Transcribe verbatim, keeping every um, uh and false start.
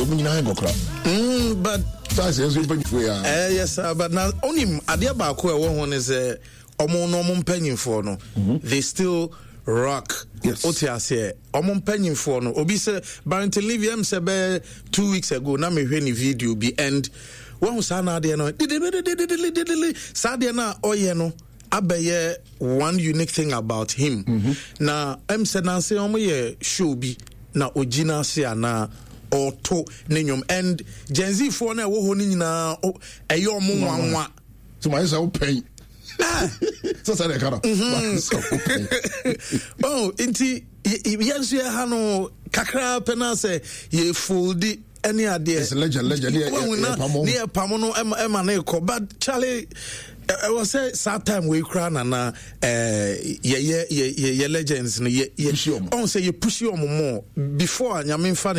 Ɔmu nyinaa nkɔkora. Mm, but saa sɛ ɛnso mpanyinfoɔ yi a. Eh, yes sir, but na onim adeɛ baako a ɛwɔ ho ne sɛ ɔmo no, ɔmo mpanyinfoɔ no, they still rock. Yes. Wote aseɛ, ɔmo mpanyinfoɔ no, obi sɛ Barrington Levy, ɛm sɛ bɛyɛ two weeks ago na mehwɛ ne video bi and wɔn saa na adeɛ no didididididididi, saa adeɛ no a ɔyɛ no abɛyɛ one unique thing about him. Na ɛm sɛ nanse ɔmo yɛ show bi na ogyina ase anaa ɔto ne nnwom and Gen Z foɔ no a ɛwɔ hɔ no nyinaa o- ɛyɛ ɔmo nwanwa. Sɛ mayɛ sɛ wopɛn sɛ sɛ deɛ ka no mayɛ sɛ wopɛn. Oh, nti yɛ yɛn nso yɛ ha no kakra pɛ na sɛ yɛ fold ɛne adeɛ. It's legend, legend. Ne yɛ- Wahu na yɛ pamo. Ne yɛ pamo no ɛma ɛma ne kɔ, but Charlie, ɛ- ɛwɔ sɛ saa time wei koraa nana ɛɛ yɛyɛ yɛ yɛ yɛ legends no yɛ yɛ Push ɔmo. Ɔn sɛ yɛ push ɔmo more before a Nyame nfa.